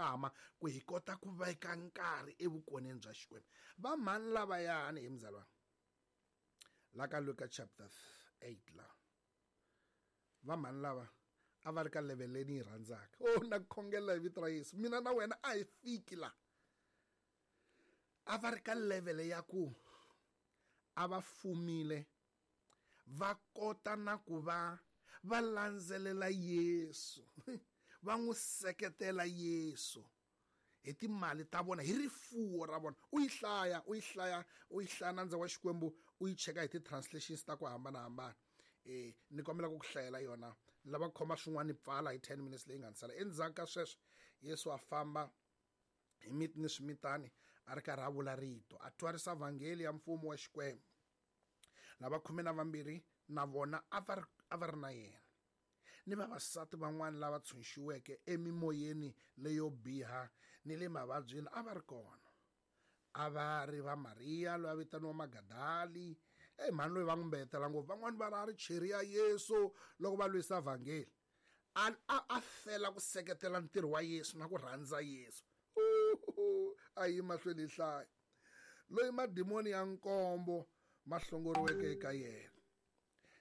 nkama ku hi kota ku veka nkarhi evukoneni bya Xikwembu. Va mhani lavayani hi muzalwana la ka Luka chapter 8 la va mhani lava a va ri ka level leyi ni yi rhandzaka. Oh, na khongela hi vito ra Yesu, mina na wena a hi fiki la. A va ri ka level ya ku a va fumile, va kota na ku va va landzelela Yesu, va n'wi seketela Yesu hi timali ta vona, hi rifuwo ra vona. U yi hlaya, u yi hlaya, u yi hlaya nandza wa Xikwembu, u yi cheka hi ti-translations ta ku hambanahambana. Ni kombela ku ku hlayela yona, ni lava ku khoma swin'wana ni pfala hi 10 minutes leyi nga ni sala. Endzhaku ka sweswo Yesu a famba hi miti ni swimitani a ri karhi a vula rito, a twarisa vhangeli ya mfumo wa Xikwembu. Lava 12 na vona a va ri na yena, ni vavasati van'wana lava tshunxiweke emimoyeni leyo biha ni le mavabyini a va ri kona. A va ri va Mariya loyi a vitaniwa Magadali, mhani loyi va n'wi mbetela ngopfu, van'wani va ri a ri cheri ya Yesu loko va lwisa vhangeli. A fela ku seketela ntirho wa Yesu na ku rhandza Yesu. A yi mahlweni hi hlaya. Loyi madimoni ya nkombo ma hlongoriweke eka yena,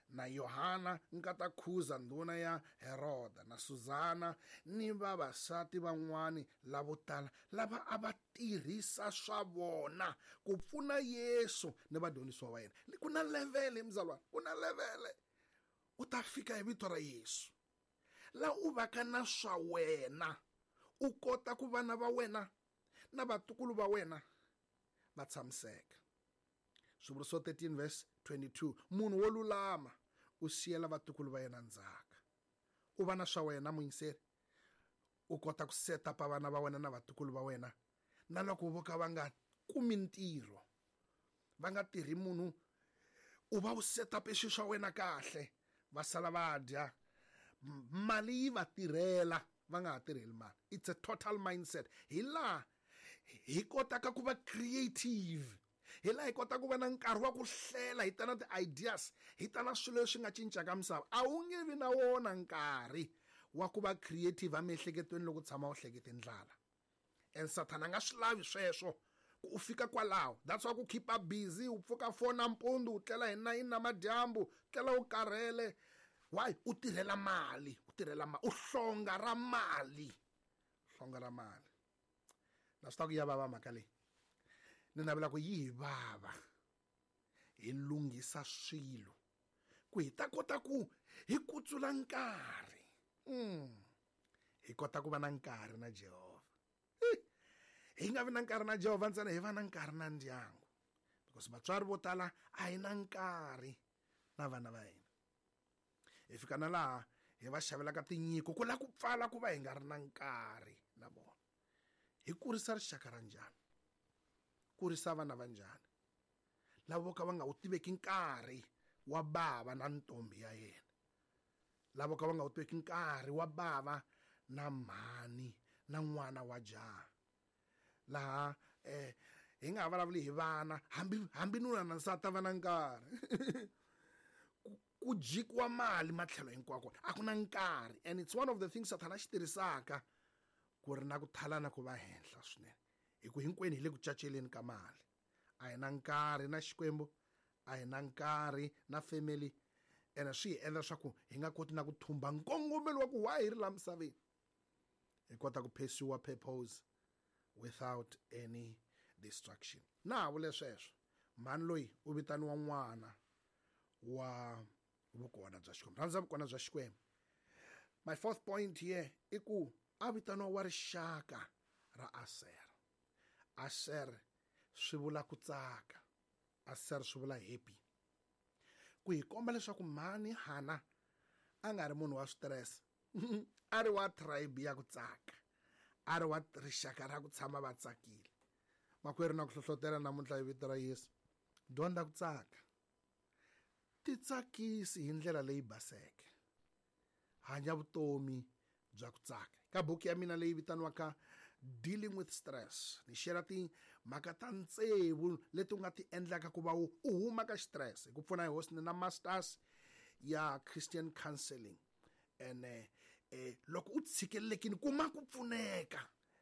na Yohana nkata Khuza ndhuna ya Heroda, na Susana ni vavasati van'wani lavo tala lava a va tirhisa swa vona ku pfuna Yesu ni vadyondzisiwa va yena. Ku na levele mzalwana, ku na levele. U ta fika hi vito ra Yesu la u vaka na swa wena, u kota ku vana va wena na vatukulu va wena va tshamiseka. Swivuriso 13 verse 22, munhu wo lulama u siyela vatukulu va yena ndzhaka. U va na swa wena muyingiseri, u kota ku set up vana va wena na vatukulu va wena, na loko vo ka va nga kumi ntirho, va nga tirhi munhu, u va u set up swilo swa wena kahle, va sala va dya, mali yi va tirhela, va nga ha tirheli mali. It's a total mindset. Hi laha hi kotaka ku va creative, hi laha hi kota ku va na nkarhi wa ku hlela, hi ta na ti-ideas, hi ta na swilo leswi nga cincaka misava. A wu nge vi na wona nkarhi wa ku va creative emiehleketweni loko u tshama u hlekete ndlala. And Sathana a nga swi lavi sweswo ku u fika kwalaho. That's why ku keep up busy, u pfuka 4 nampundzu, u tlela hi 9 namadyambu, tlela u karhele. Why? U tirhela mali, u tirhela mali, u hlonga ra mali, hlonga ra mali. Na swi ta ku ya vava mhaka leyi, ni navela ku yi hi vava, hi lunghisa swilo ku hi ta kota ku hi kutsula nkarhi. Hi kota ku va na nkarhi na Jehovha. Hi nga vi na nkarhi na Jehovha ntsena, hi va na nkarhi na ndyangu, because vatswari vo tala a hi na nkarhi na vana va hina. Hi fika na laha hi va xavelaka tinyiko ku la ku pfala ku va hi nga ri na nkarhi na vona. Hi kurisa rixaka ra njhani? Kurisa vana va njhani lava vo ka va nga wu tiveki nkarhi wa bava na ntombi ya yena, lava vo ka va nga wu tiveki nkarhi wa bava na mhani na n'wana wa jaha. Laha hi nga ha vulavuli hi vana, hambi nuna na nsati va na nkarhi. Ku jikiwa mali matlhelo hinkwako, a ku na nkarhi. And it's one of the things Sathana a xi tirhisaka ku ri na ku thalana ku va henhla swinene, hi ku hinkwenu hi le ku caceleni ka mali. A hi na nkarhi na Xikwembu, a hi na nkarhi na family, ene swi hi endla leswaku hi nga koti na ku thumba nkongomelo wa ku why hi ri laha misaveni. Hi kota ku pursue purpose without any distraction. Na ha vule sweswo, mhani loyi u vitaniwa n'wana wa vukona bya Xikwembu. Rhandza vukona bya Xikwembu. My fourth point here i ku a vitaniwa wa rixaka ra Aser. Aser swi vula ku tsaka, Aser swi vula happy. Ku hi komba leswaku mhani Hana a nga ri munhu wa stress, a ri wa tribe ya ku tsaka, a ri wa rixaka ra ku tshama va tsakile. Makwerhu, na ku hlohlotela namuntlha hi vito ra Yesu, dyondza ku tsaka, titsakisi hi ndlela leyi baseke, hanya vutomi bya ku tsaka. Ka buku ya mina leyi vitaniwaka Dealing with Stress, ni share timhaka ta tsevu leti u nga ti endlaka ku va u huma ka stress. Hi ku pfuna hi Hosi, ni na masters ya Christian Counseling. Ene loko u tshikelelekile, kuma ku pfuneka.